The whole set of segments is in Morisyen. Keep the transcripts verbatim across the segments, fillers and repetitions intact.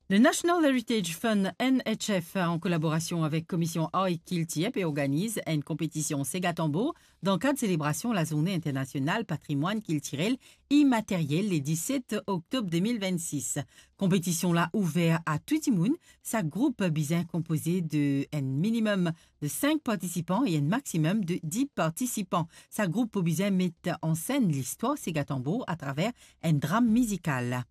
Le National Heritage Fund, N H F, an kolaborasion avek Komisyon Ar ek Kiltir, pe organiz enn konpetision Sega Tanbour dan kad selebrasion Lazourne Internasional Patrimwann Kiltirel Imateryel le diset oktob de mil vennsis. Konpetision la ouver a tou dimoun. Sak group bizin konpoze de enn minimem de sink partisipan e enn maximem de dis partisipan. Sak group pou bizin met an senn listwar Sega Tanbour atraver enn dram mizikal.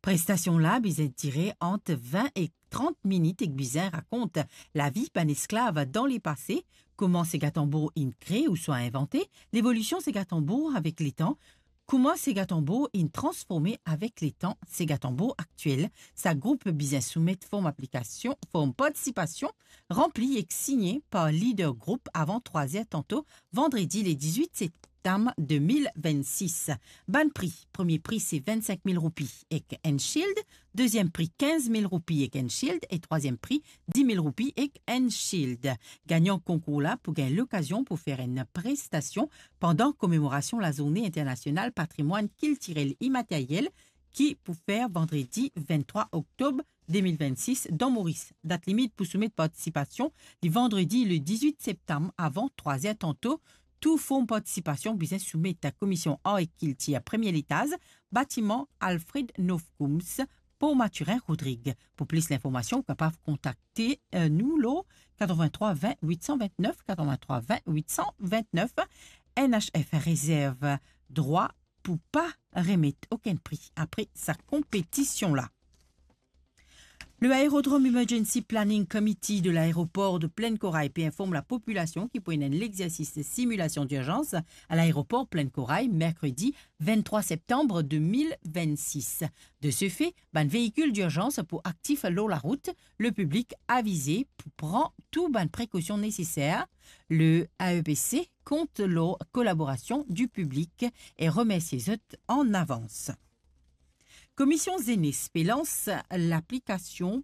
Prestasion la bizin dire ant vin ek trant minit ek bizin rakont lavi bann esklav dan lepase, kouma Sega Tanbour inn kree ouswa invante, levolision Sega Tanbour avek letan, kouma Sega Tanbour inn transforme avek letan, Sega Tanbour aktiel. Sak group bizin soumet form aplikasion, form partisipasion, ranpli ek signe par lider group avan trwa zer tanto, vandredi le diz-wit septam de mil vennsis. Bann pri: premie pri se vinn-sink mil roupi ek enn shield, deziem pri kinz mil roupi ek enn shield e trwaziem pri dis mil roupi ek enn shield. Gagnan konkour la pou gagn lokazion pou fer enn prestasion pandan komemorasion Lazourne Internasional Patrimwann Kiltirel Imateryel ki pou fer vandredi vinn-trwa oktob de mil vennsis dan Moris. Dat limit pou soumet partisipasion, li vandredi le diz-wit septam avan trwa zer tanto. Tou form partisipasion bizin soumet a Komisyon Ar ek Kiltir, premie letaz, batiman Alfred Nofkums, Port Mathurin, Rodrig. Pou plis linformasion, ou kapav kontakte, eh, nou lor katrevin-trwa vin wit san vintnef, katrevin-trwa vin wit san vintnef. N H F rezerv drwa pou pa remet okenn pri apre sa konpetision la. Le Aérodrome Emergency Planning Committee de l'aéroport de Plaine Corail pe inform lapopilasion ki pou ena enn lexersis similasion dirzans a laeropor Plaine Corail, merkredi vinn-trwa septam de mil vinn-sis. De se fe, bann veikil dirzans pou aktif lor larout, lepiblik avize pou pran tou bann prekosion neseser. Le A E P C kont lor kolaborasion dipiblik e remersie zot an avans. Komisyon Zenes pe lans laplikasion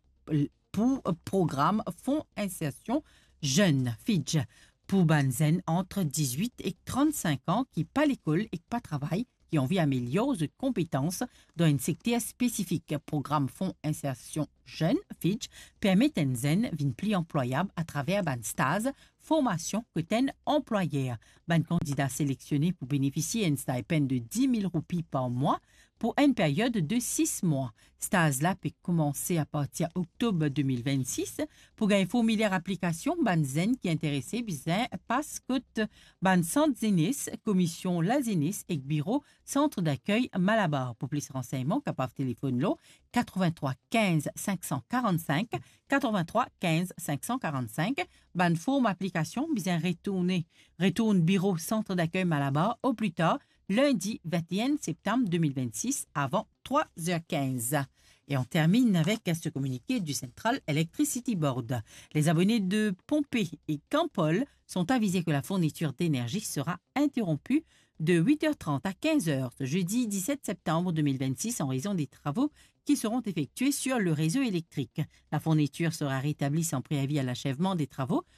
pou program Fon Insersion Zenn, FIDJ, pou bann zenn ant diz-wit ek trant-sink an ki pa lekol ek pa travay, ki anvi amelior zot konpetans dan enn sekter spesifik. Program Fon Insersion Zenn, FIDJ, permet enn zenn vinn pli anplwayab atraver bann staz formasion kot enn anplwayer. Bann kandida selektione pou benefisie enn stipend de dis mil roupi par mwa pou enn period de sis mwa. Staz la pe koumanse apartir oktob de mil vinn-sis. Pou gagn formilyer aplikasion, bann zenn ki interese bizin pas kot bann sant zenes, Komisyon Lazenes ek biro Sant Dakey Malabar. Pou plis ransegnman, kapav telefonn lor katrevin-trwa kinz sink san karant-sink, katrevin-trwa kinz sink san karant-sink. Bann form aplikasion bizin retourne, retourn biro Sant Dakey Malabar oplitar lindi vinn-enn septam de mil vinn-sis avan trwa zer kinz. Et on termine avec ce communiqué du Central Electricity Board. Les abonnés de Pohnpey et Campol sont avisés que la fourniture d'énergie sera interrompue de huit heures trente à quinze heures ce jeudi dix-sept septembre deux mille vingt-six en raison des travaux qui seront effectués sur le réseau électrique. La fourniture sera rétablie sans préavis à l'achèvement des travaux